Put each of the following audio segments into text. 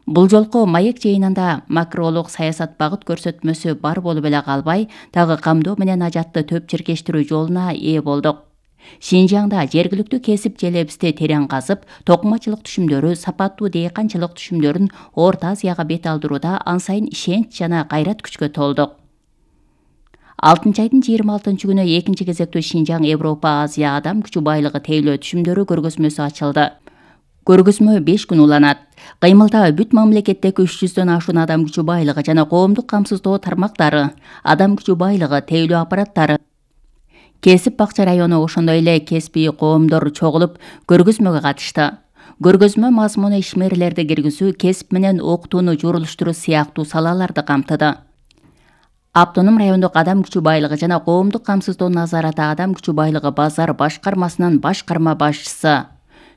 Бул жолку маек жыйынында макролук саясат багыт көрсөтмөсү бар болуп эле калбай, дагы камдоо менен ажатты төп чиркештирүү жолуна ээ болдук. Шинжаңда жергиликтүү кесип желебизди терең казып, токумачылык түшүмдөрү, сапаттуу дыйканчылык түшүмдөрүн Орто Азияга бет алдырууда ан сайын ишенч жана кайрат күчкө толдук. 6 айдын 26 күнү экинчи кезектүү Шинжаң Европа Азия адам күчү байлыгы тейлөө түшүмдөрү көргөзмөсү ачылды. Көргөзмө 5 күн уланат. Кыймылда бүт мамлекеттеги 300дөн ашуун адам күчү байлыгы жана коомдук камсыздоо тармактары, адам күчү байлыгы тейлөө аппараттары, кесип бакча району, ошондой эле кеспий коомдор чогулуп көргөзмөгө катышты. Көргөзмө мазмуну ишмерлерди киргизүү, кесип менен окутууну журулуштуруу сыяктуу салаларды камтыды. Автоном райондук адам күчү байлыгы жана коомдук камсыздоо назараты адам күчү байлыгы базар башкармасынын башкарма башчысы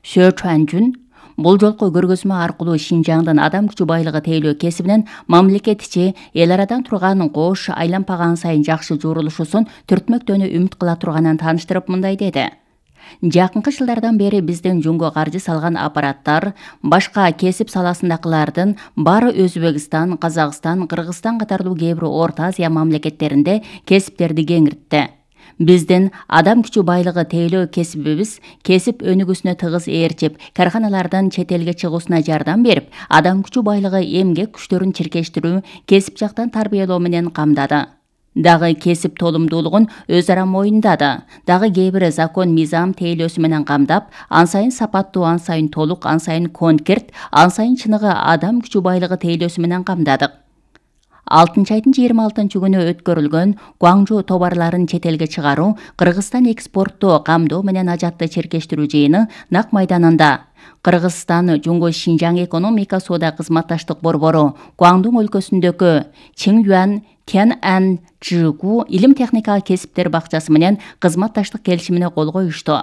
Шө Чуанжун бул жолку көргөзмө аркылуу Шинжаңдын адам күчү байлыгы тейлөө кесибинен мамлекет ичи эл арадан турган кош айланпаган сайын жакшы журулушусун түртмөктөөнү үмүт кыла турганын тааныштырып мындай деди. Жакынкы жылдардан бери биздин жөнгө каржы салган аппараттар башка кесип саласындагылардын баары Өзбекстан, Казакстан, Кыргызстан катарлуу кээ бир Орто Азия мамлекеттеринде кесиптерди кеңиртти. Биздин адам күчү байлыгы тейлөө кесибибиз кесип өнүгүүсүнө тыгыз ээрчип, карханалардан чет элге чыгуусуна жардам берип, адам күчү байлыгы эмгек күчтөрүн чиркештирүү, кесип жактан тарбиялоо менен камдады. Дагы кесип толумдуулугун өз ара моюндады. Дагы кээ бир закон мыйзам тейлөөсү менен камдап, ан сайын сапаттуу, ан сайын толук, ан сайын конкрет, ан сайын чыныгы адам күчү байлыгы тейлөөсү менен камдадык. 6 айдын 26 күнү өткөрүлгөн Гуаңжу товарларын чет элге чыгаруу, Кыргызстан экспорттоо, камдоо менен ажатты чиркештирүү жыйыны Нак майданында Кыргызстан Жуңго Шинжаң экономика соода кызматташтык борбору, Гуаңдун өлкөсүндөгү Чинgyuan Tian'an Zhigu илим техника кесиптер бакчасы менен кызматташтык келишимине кол коюшту.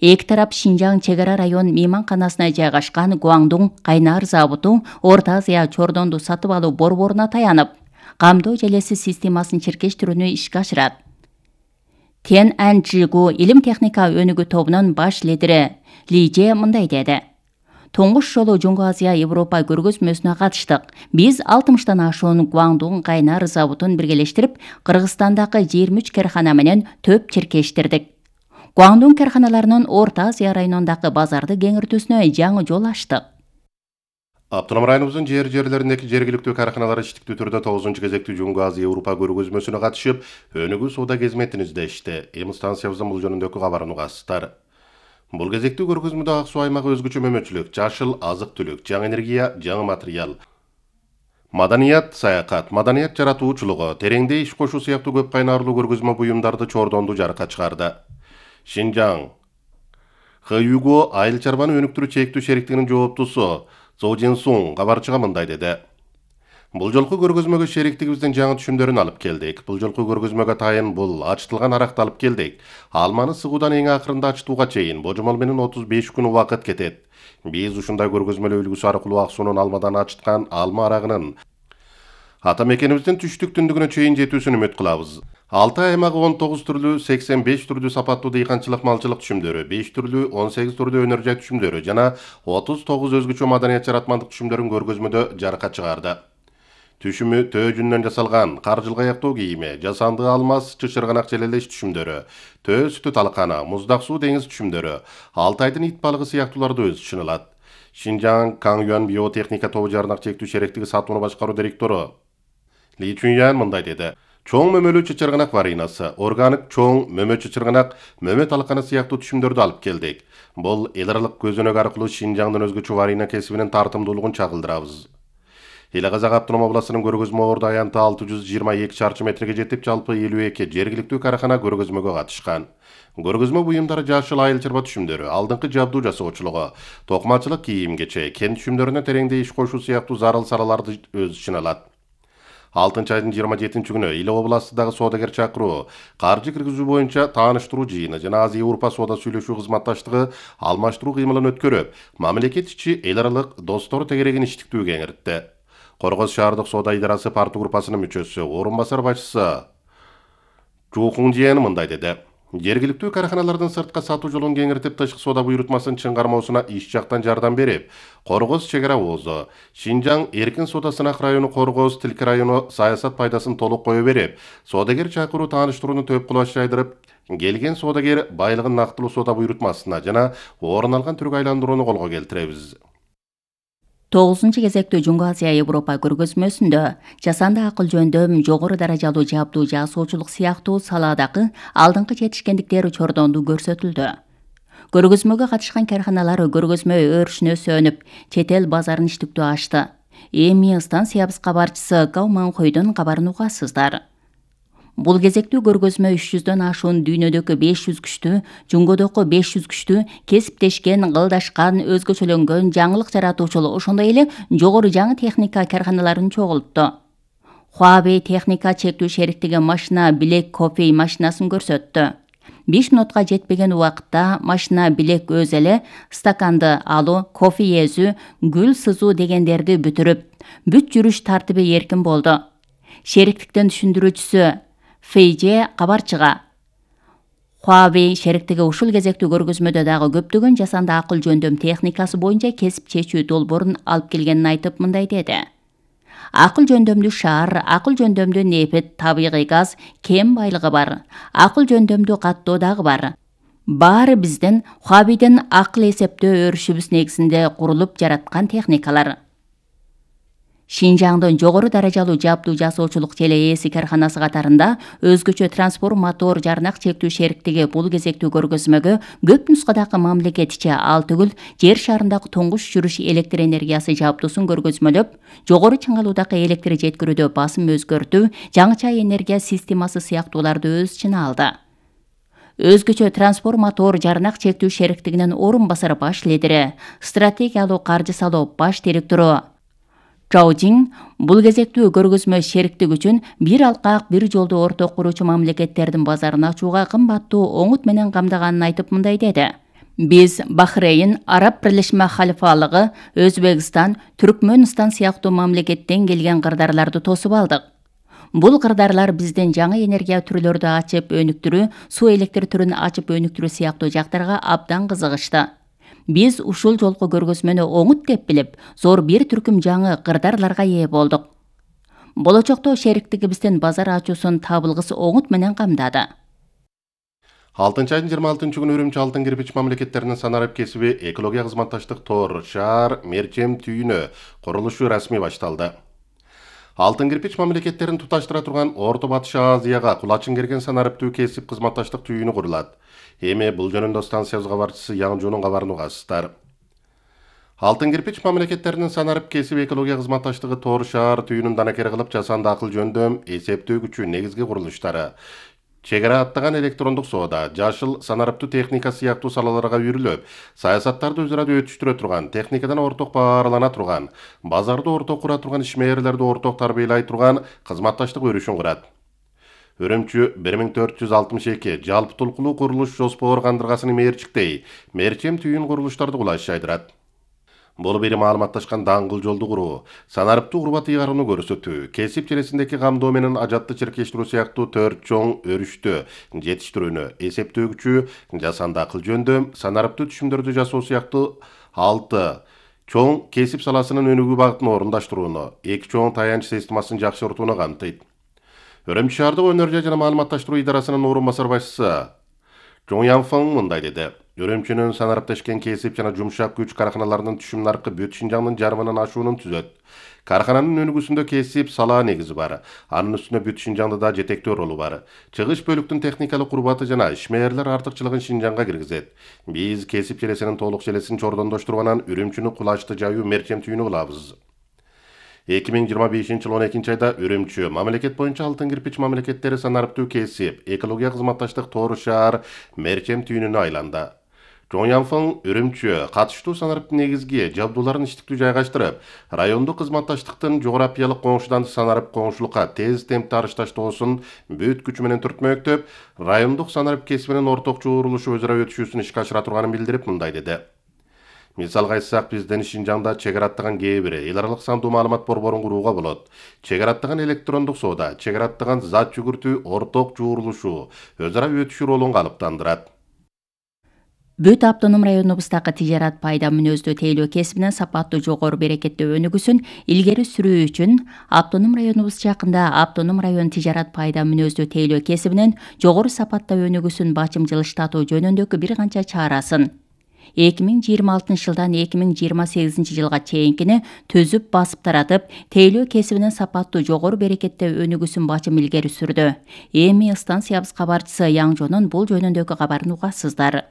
Эки тарап Шинжаң чек ара район мейманканасына жайгашкан Гуаңдун кайнар заводу Орто Азия чордонду сатып алуу борборуна таянып, камдоо желеси системасын чиркештирүүнү ишке ашырат. Tian'an Zhigu илим техника өнүгүү тобунун баш лидери Лиже мындай деди. Тоңуш жолу Жөнгө Азия Европа көргөзмөсүнө катыштык. Биз 60тан ашуун Гуаңдун кайнар заводун биргелештирип, Кыргызстандагы 23 кархана менен төп чиркештирдик. Гуаңдун карханаларынын Орто Азия районундагы базарды кеңиртүүсүнө жаңы жол ачтык. Автоном районубуздун жерлериндеги жергиликтүү карханалар иштиктүү түрдө 9 кезектүү Жөнгө Азия Европа көргөзмөсүнө катышып, өнүгүү соода кызметін издешти. Эми станциябыздын бул жөнүндөгү кабарын угасыздар. Бул кезектүү көргөзмөдө ак суу аймагы өзгөчө мөмөчүлүк, жашыл азык-түлүк, жаңы энергия, жаңы материал, маданият, саякат, маданият жаратуучулугу, тереңде иш кошуу сыяктуу көп кайнарлуу көргөзмө буюмдарды чордонду жарыкка чыгарды. Шинжаң Хюго айыл чарбаны өнүктүрүү чектүү шериктигинин жооптусу Цо Жинсун кабарчыга мындай деди. Бул жолку көргөзмөгө шериктигибиздин жаңы түшүмдөрүн алып келдик. Бул жолку көргөзмөгө тайын бул ачтылган аракты алып келдик. Алманы сыгуудан эң акырында ачтууга чейин божомол менен 35 күн убакыт кетет. Биз ушундай көргөзмөлүү үлгүсү аркылуу ак суунун алмадан ачыткан алма арагынын ата мекенибиздин түштүк түндүгүнө чейин жетүүсүн үмүт кылабыз. Алтай аймагы 19 түрлүү, 85 түрлүү сапаттуу дыйканчылык малчылык түшүмдөрү, 5 түрлүү, 18 түрлүү өнөр жай түшүмдөрү жана 39 өзгөчө маданият жаратмандык түшүмдөрүн көргөзмөдө жарыкка чыгарды. Түшүмү төө жүнүнөн жасалган каржылга аяктоо кийими, жасанды алмаз, чычырганак желелеш түшүмдөрү, төө сүтү талкана, муздак суу деңиз түшүмдөрү, Алтайдын ит балыгы сыяктууларды өз ичине алат. Шинжаң Канgyuan биотехника тобу жарнак чектүү шериктиги сатууну башкаруу директору Ли Чуньян мындай деди. Чоң мөмөлүү чычырганак варинасы, органик чоң мөмө чычырганак, мөмө талканы сыяктуу түшүмдөрдү алып келдик. Бул эл аралык көзөнөк аркылуу Шинжаңдын өзгөчө варина кесибинин тартымдуулугун чагылдырабыз. Эле-Казак автоном областынын көргөзмө орду аянты 622 чарчы метрге жетип, жалпы 52 жергиликтүү карахана көргөзмөгө катышкан. Көргөзмө буюмдары жашыл айыл чарба түшүмдөрү, алдыңкы жабдуу жасоочулугу, токмачылык кийим-кече, кен түшүмдөрүнө тереңде иш кошуу сыяктуу зарыл салаларды өз ичине алат. 6 айдын 27 күнү Иле областындагы соодагер чакыруу, каржы киргизүү боюнча тааныштыруу жыйыны жана Азия Европа соода сүйлөшүү кызматташтыгы алмаштыруу кыймылын өткөрүп, мамлекет ичи эл аралык достор тегерегин иштиктүү кеңиртти. Коргоз шаардык соода идарасы парту группасынын мүчөсү, орун басар башчысы Чу Хунжиен мындай деди. Жергиликтүү караханалардын сыртка сатуу жолун кеңиртип, тышкы соода буйрутмасын чыңгармоосуна иш жактан жардам берип, Коргоз чек ара оозу, Шинжаң эркин соода сынак району Коргоз тилки району саясат пайдасын толук кое берип, соодагер чакыруу тааныштырууну төп кылып жайдырып, келген соодагер байлыгын нактылуу соода буйрутмасына жана орун алган түргө айландырууну колго келтиребиз. 9-кезектүү Жуңгу Азия Европа көргөзмөсүндө жасанды акыл жөндөм, жогору даражалуу жабдуу жасоочулук сыяктуу салаадагы алдыңкы жетишкендиктер чордонду көрсөтүлдү. Көргөзмөгө катышкан карханалар көргөзмө өрүшүнө сөнүп, чет эл базарын иштиктүү ачты. Эми станциябыз кабарчысы Гау Манхойдун кабарын угасыздар. Бул кезектүү көргөзмө 300дөн ашуун дүйнөдөгү 500 күчтүү, Жуңгодогу 500 күчтүү, кесиптешкен, кылдашкан, өзгөчөлөнгөн, жаңылык жаратуучул, ошондой эле жогору жаңы техника карханаларын чогултту. Huawei техника чектүү шериктиги машина билек кофе машинасын көрсөттү. 5 минутка жетпеген убакытта машина билек өз эле стаканды алуу, кофе эзүү, гүл сызуу дегендерди бүтүрүп, бүт жүрүш тартиби эркин болду. Шериктиктин түшүндүрүүчүсү Фейже кабарчыга Huawei шериктиги ушул кезектүү көргөзмөдө дагы көптөгөн жасанды акыл жөндөм техникасы боюнча кесип чечүү долбоорун алып келгенин айтып мындай деди. Акыл жөндөмдүү шаар, акыл жөндөмдүү нефт, табигый газ, кен байлыгы бар. Акыл жөндөмдүү каттоо дагы бар. Баары биздин Huawei'ден акыл эсептөө өрүшүбүз негизинде курулуп жараткан техникалар. Шинжаңдын жогору даражалуу жабдуу жасоочулук ЖЛС карханасы катарында өзгөчө трансформатор жарнак чектүү шериктиги бул кезектүү көргөзмөгө көп нускадагы мамлекетиче ал түгүл жер шарындагы туңгуч жүрүш электр энергиясы жабдуусун көргөзмөлөп, жогору чыңалуудагы электр жеткирүүдө басым өзгөртүү, жаңыча энергия системасы сыяктууларды өз ичине алды. Өзгөчө трансформатор жарнак чектүү шериктигинин орун басары баш лидери, стратегиялуу каржы салуу баш директору Чаужин бул кезектүү көргөзмө шериктик үчүн бир алкак, бир жолду орток куруучу мамлекеттердин базарын ачууга кымбаттуу оңут менен камдаганын айтып мындай деди. Биз Бахрейн, Араб Бирлешме Халифалыгы, Өзбекстан, Түркмөнстан сыяктуу мамлекеттен келген кырдарларды тосуп алдык. Бул кырдарлар биздин жаңы энергия түрлөрүдү ачып өнүктүрүү, суу электр түрүн ачып өнүктүрүү сыяктуу жактарга абдан кызыгышты. Биз ушул жолку көргөзмөнү оңут деп билип, зор бир түркүм жаңы кырдарларга ээ болдук. Болочокто шериктигибиздин базар ачуусун табылгыс оңут менен камдады. 6-айдын 26-күнү Үрүмчү алтын кирпич мамлекеттеринин санарып кесиби экология кызматташтык тор, шаар, мерчем түйүнү курулушу расмий башталды. Алтын кирпич мамлекеттерин туташтыра турган Орто Батыш Азияга кулачын керген санарыптуу кесип кызматташтык түйүнү курулат. Эми бул жөнүндө станциябыз кабарчысы Яңжунун кабарын угасыздар. Алтын кирпич мамлекеттеринин санарып кесип экология кызматташтыгы тор, шаар түйүнүн данакери кылып жасанды акыл жөндөм, эсептөө күчү негизги курулуштары, чек ара аттаган электрондук соода, жашыл санарыптуу техника сыяктуу салаларга үйрүлүп, саясаттарды өз ара өтүштүрө турган, техникадан орток бааралана турган, базарды орток кура турган, ишмерлерди орток тарбиялай турган кызматташтык өрүшүн курат. Үрүмчү 1462 жалпы толкулуу курулуш жоспор кандыргасынын мээрчиктей, мерчем түйүн курулуштарды кулаш жайдырат. Бул бери маалыматташкан даңгыл жолду куруу, санарыптуу урбат ыйгарууну көрсөтүү, кесип желесиндеги камдоо менен ажатты чиркештирүү сыяктуу 4 чоң өрүштү жетиштирүүнү, эсептөө күчү, жасанды акыл жөндөм, санарыптуу түшүмдөрдү жасоо сыяктуу 6 чоң кесип саласынын өнүгүү багытын орундаштырууну, 2 чоң таянч системасын жакшыртууну камтыйт. Үрүмчү шаардык өнөр жана маалыматташтыруу идарасынын орун басар башчысы Чоң Янфың мындай деди. Үрүмчүнүн санарыптешкен кесип жана жумшак күч карханаларынын түшүм наркы бүт Шинжаңдын жарымынан ашуунун түзөт. Кархананын өнүгүүсүндө кесип салаа негизи бар. Анын үстүнө бүт Шинжаңда да жетектөө ролу бар. Чыгыш бөлүктүн техникалык урбаты жана ишмерлер артыкчылыгын Шинжаңга киргизет. Биз кесип желесинин толук желесин чордондоштуруп анан Үрүмчүнү кулачты жайуу мерчем түйүнү кылабыз. 2025-жыл 12-айда Үрүмчү мамлекет боюнча алтын кирпич мамлекеттери санарыптуу кесип, экология кызматташтык тор, шаар, мерчем түйүнүнө айланды. Чоң Янфың Үрүмчү катыштуу санарыптын негизги жабдууларын иштиктүү жайгаштырып, райондук кызматташтыктын жогорапиялык коңшудан санарып коңшулукка тез темпте арышташтоосун бүт күчү менен түртмөктөп, райондук санарып кесибинин орток чогурулушу өз ара өтүшүүсүн ишке ашыра турганын билдирип мындай деди. Мисалга айтсак, бизден Шинжаңда чек ара аттаган кээ бир эл аралык сандуу маалымат борборун курууга болот. Чек ара аттаган электрондук соода, чек ара аттаган зат жүгүртүү орток жуурулушу, өз ара өтүшүү ролун калыптандырат. Бүт автоном районубуздагы тижарат пайда мүнөздүү тейлөө кесибинин сапаттуу жогору берекеттүү өнүгүүсүн илгери сүрүү үчүн автоном районубуз жакында автоном район тижарат пайда мүнөздүү тейлөө кесибинин жогору сапатта өнүгүүсүн бачымчылыштатуу жөнүндөгү бир канча чарасын 2026 жылдан 2028 жылга чейинкини түзүп басып таратып, тейлөө кесибинин сапаттуу жогору берекеттүү өнүгүүсүн бачым илгери сүрдү. Эми станциябыз кабарчысы Яңжонун бул жөнүндөгү кабарын угасыздар.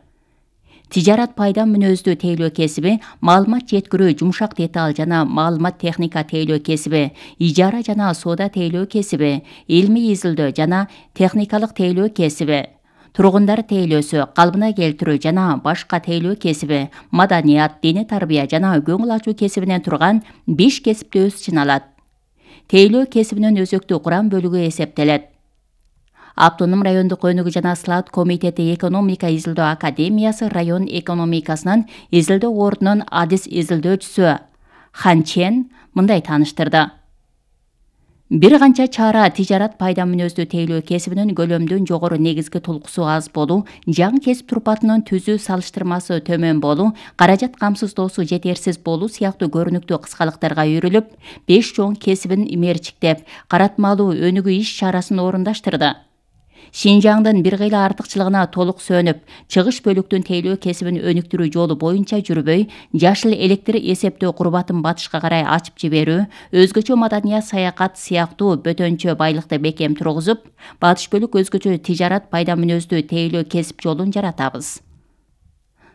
Тижарат пайда мүнөздүү тейлөө кесиби, маалымат жеткирүү жумшак деталь жана маалымат техника тейлөө кесиби, ижара жана соода тейлөө кесиби, илмий изилдөө жана техникалык тейлөө кесиби, тургундар тейлөөсү, калыбына келтирүү жана башка тейлөө кесиби, маданият, диний тарбия жана көңүл ачуу кесибинен турган 5 кесипти өз ичине алат. Тейлөө кесибинин өзөктүү курам бөлүгү эсептелет. Автоном райондук өнүгүү жана слаат комитети экономика изилдөө академиясы район экономикасынын изилдөө ордунун адис изилдөөчүсү Хан Чен мындай тааныштырды. Бир канча чара тижарат пайда мүнөздүү тейлөө кесибинин көлөмдүн жогору негизги толкусу аз болуу, жаңы кесип турпатынын түзүү салыштырмасы төмөн болуу, каражат камсыздоосу жетерсиз болуу сыяктуу көрүнүктүү кыскалыктарга үйрүлүп, 5 чоң кесибин имерчиктеп, каратмалуу өнүгүү иш чарасын орундаштырды. Шинжаңдын бир кыйла артыкчылыгына толук сөнүп, чыгыш бөлүктүн тейлөө кесибин өнүктүрүү жолу боюнча жүрбөй, жашыл электр эсептөө курбатын батышка карай ачып жиберүү, өзгөчө маданият саякат сыяктуу бөтөнчө байлыкты бекем тургузуп, батыш бөлүк өзгөчө тижарат пайда мүнөздүү тейлөө кесип жолун жаратабыз.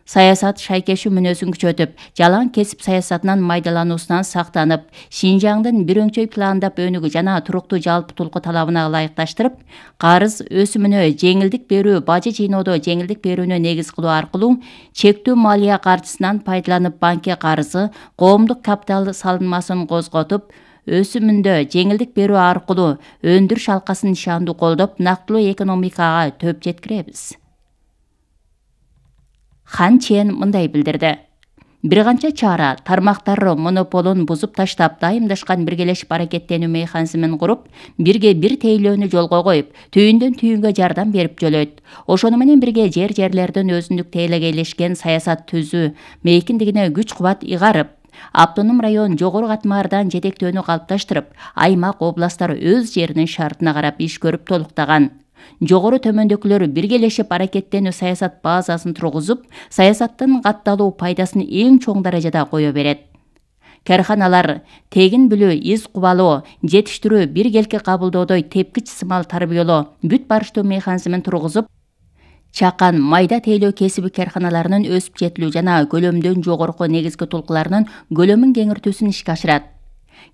Саясат шайкешүү мүнөзүн күчөтүп, жалаң кесип саясатынан майдалануусунан сактанып, Шинжаңдын бир өңчөй пландап өнүгүү жана туруктуу жалпы толку талабына ылайыкташтырып, карыз өсүмүнө жеңилдик берүү, бажы жыйноодо жеңилдик берүүнү негиз кылуу аркылуу чектүү малия каржысынан пайдаланып банкке карызы, коомдук капитал салынмасын козготуп, өсүмүндө жеңилдик берүү аркылуу өндүрүш алкасын нышандуу колдоп, нактылуу экономикага төп жеткиребиз. Хан Чен мындай билдирди. Бир канча чара тармактар монополун бузуп таштап, дайымдашкан биргелешип аракеттенүү механизмин куруп, бирге бир тейлөөнү жолго коюп, түйүндөн түйүнгө жардам берип жөлөйт. Ошону менен бирге жерлердин өзүндүк тейлегейлешкен саясат түзүү мейкиндигине күч кубат ыйгарып, автоном район жогору катмаардан жетектөөнү калыпташтырып, аймак, областтар өз жеринин шартына карап иш көрүп толуктаган. Жогору төмөндөгүлөр биргелешип аракеттенүү саясат базасын тургузуп, саясаттын катталуу пайдасын эң чоң даражада кое берет. Карханалар тегин билүү, из кубалоо, жетиштирүү, биргелки кабылдоодой тепкич сымал тарбиялоо, бүт барыштуу механизмин тургузуп, чакан майда тейлөө кесиби карханаларынын өсүп жетилүү жана көлөмдөн жогорку негизги толкуларынын көлөмүн кеңиртүүсүн ишке ашырат.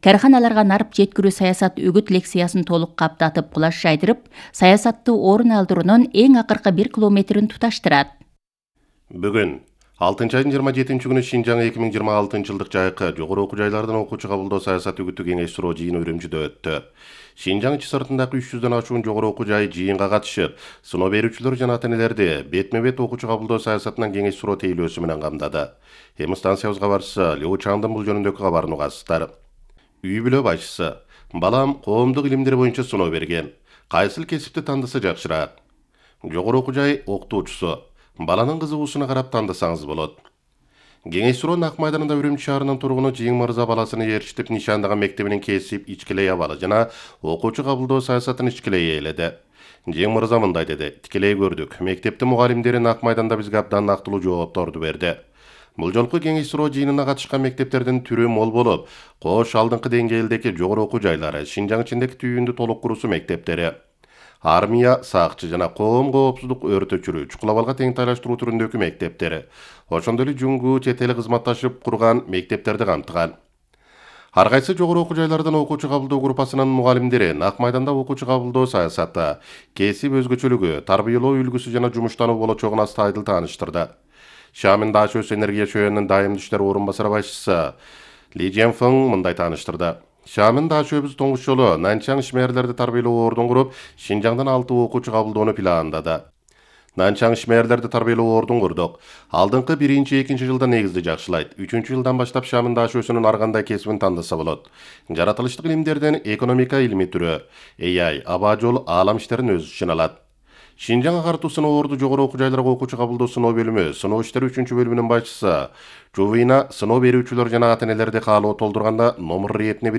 Карханаларга нарып жеткирүү саясат үгүт лекциясын толук каптатып, кулаш жайдырып, саясатты орун алдыруунун эң акыркы 1 километрин туташтырат. Бүгүн 6 айдын 27 күнү Шинжаң 2026 жылдык жайкы жогору окуу жайлардан окуучу кабылдоо саясат үгүттүү кеңеш суроо жыйыны Үрүмчүдө өттү. Шинжаң ичи сыртындагы 300дөн ашуун жогору окуу жайы жыйынга катышып, сыноо берүүчүлөр жана ата-энелерди бетме-бет окуучу кабылдоо саясатынан кеңеш суроо тейлөөсү менен камдады. Эми станциябыз кабарчысы Лео Чаңдын бул жөнүндөгү кабарын угасыздар. Үй бүлө башчысы: балам коомдук илимдер боюнча сыноо берген. Кайсыл кесипти тандаса жакшыраак? Жогору окуу жай окутуучусу: баланын кызыгуусуна карап тандасаңыз болот. Кеңеш суроо Нак майданында Үрүмчү шаарынын тургуну Жыйың Мырза баласыны ээрчитип нишандаган мектебинин кесип ичкилей абалы жана окуучу кабылдоо саясатын ичкилей ээледи. Жыйың Мырза мындай деди: тикелей көрдүк. Мектептин мугалимдери Нак майданда бизге абдан нактылуу жоопторду берди. Бул жолку кеңеш суроо жыйынына катышкан мектептердин түрү мол болуп, кош алдыңкы деңгээлдеги жогору окуу жайлары, Шинжаң ичиндеги түйүндү толук куруусу мектептери, армия, сакчы жана коом коопсуздук өрт өчүрүү, чукул абалга теңтайлаштыруу түрүндөгү мектептери, ошондой эле жуңгу чет эл кызматташып курган мектептерди камтыган. Ар кайсы жогору окуу жайлардан окуучу кабылдоо группасынын мугалимдери Нак майданда окуучу кабылдоо саясаты, кесип өзгөчөлүгү, тарбиялоо үлгүсү жана жумуштануу болочогун аста айдыл тааныштырды. Шамин Дашөс энергия чөйөнүнүн дайым иштер орун басары башчысы Ли Женфeng мындай тааныштырды. Шамин Дашөбүз тоңуш жолу Нанчаң ишмерлерди тарбиялоо ордун куруп, Шинжаңдан 6 окуучу кабылдоону пландады. Нанчаң ишмерлерди тарбиялоо ордун курдук. Алдыңкы 1-2 жылда негизди жакшылайт. 3 жылдан баштап шамында ашуусунун ар кандай кесибин тандаса болот. Жаратылыштык илимдерден экономика илми түрү, AI, аба жол, аалам иштерин өз ичине алат. Шинжаң агартуу сыноо орду жогору окуу жайларга окуучу кабылдоо сыноо бөлүмү, сыноо иштери 3-бөлүмүнүн башчысы Жувина сыноо берүүчүлөр жана ата-энелерди каалоо толтурганда номер иретине